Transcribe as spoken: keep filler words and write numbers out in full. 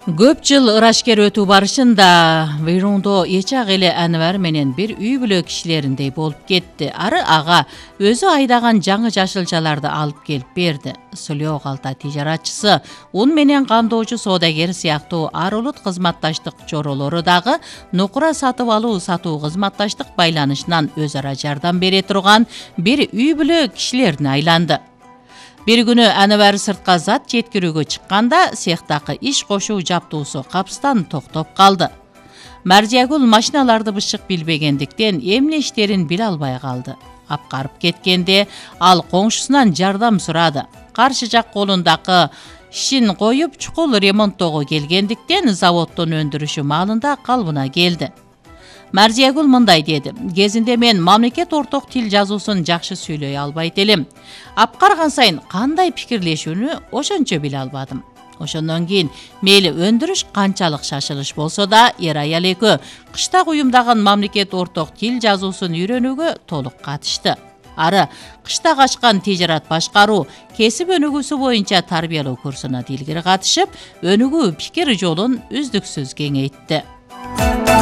Көп жыл ырашкер өтүү барышында Вейрондо эчак эле Анвар менен бир үй бүлө кишилериндей болуп кетти. Ары ага өзү айдаган жаңы жашылчаларды алып келип берди. Сулөө калта тижаратчысы, ун менен кандоочу соодагер сыяктуу ар улут кызматташтык чоролору дагы нукура сатып алуу сатуу кызматташтык байланышынан өз ара жардам бере турган бир үй бүлө кишилерине айланды. Bir күнү Анвар сыртка зат жеткирүүгө чыкканда цехтагы иш кошуу жаптуусу капстан токтоп калды. Мардиягүл машиналарды бышык билбегендиктен эмне иштерин биле албай калды. Апкарып кеткенде ал коңшусунан жардам сурады. Каршы жак колундагы ишин коюп чукул ремонттоого келгендиктен заводдун өндүрүшү маалында калыбына келди. Мардиягүл мындай деди: кезинде мен мамлекет орток тил жазуусун жакшы сүйлөй албайт элем. Апкарган сайын кандай пикирлешүүнү ошончо биле албадым. Ошондон кийин мейли өндүрүш канчалык шашылыш болсо да, эр аял экөө кышта уюмдаган мамлекет орток тил жазуусун үйрөнүүгө толук катышты. Ары кышта ачкан тижарат башкаруу кесип өнүгүүсү боюнча тарбиялоо курсуна дилгири катышып, өнүгүү пикир жолун үздүксүз кеңейтти.